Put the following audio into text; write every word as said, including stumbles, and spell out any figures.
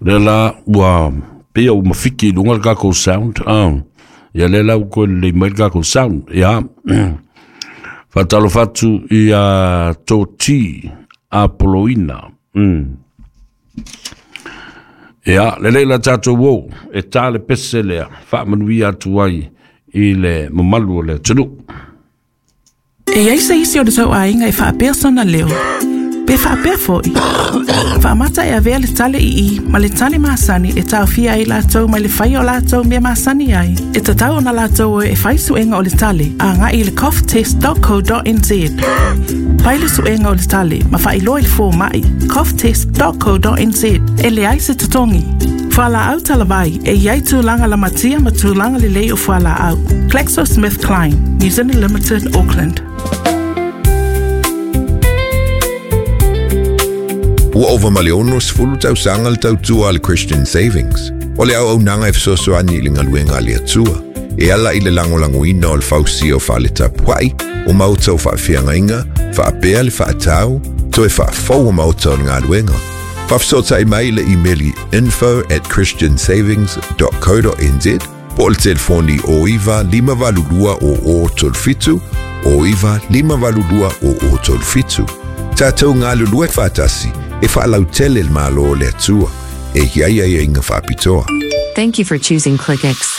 Lea la ua pei ua mafiki i luga le tatou sound, ah. Ia lea la ua toe lelei mai le tatou sound. Ia, faatalofa atu ia Toti Apoloina. Mm. Ia, lelei la tatou o, e tā le pese lea, faamanuia atu ai i le mamalu o le atunuu. E i ai se isi o le tou aiga e faapea sona leo, pe faapea foi. Faamata e avea le tale ii ma le tale masani e taofia ai latou mai le faia o latou mea masani ai. E tatau ona latou o e fai suega o le tale agai i le cough test dot co dot n z. Fai le suega o le tale ma faailoa i le fomai cough test dot co dot n z. E leai se totogi. Fualaau talavai e i ai tulaga lamatia ma tulaga lelei o fualaau. GlaxoSmithKline, New Zealand Limited, Auckland. Ua ova ma le ono sefulu tausaga le tautua a le Christian Savings. O le auaunaga e fesoasoani i le galuega a le Atua, e ala i le lagolagoina o le fausia o fale tapuai, o maota o faafeagaiga, faapea le faatau, toe faafou o maota o le galuega. Faafesootai mai i le imeli info at christian savings dot co dot n z po o le telefoni o iva lima valu lua o o tolu fitu, o iva lima valu lua o o tolu fitu. Tatou galulue faatasi e faalautele le Malo o le Atua e i ai aiaiga faapitoa. Thank you for choosing ClickX.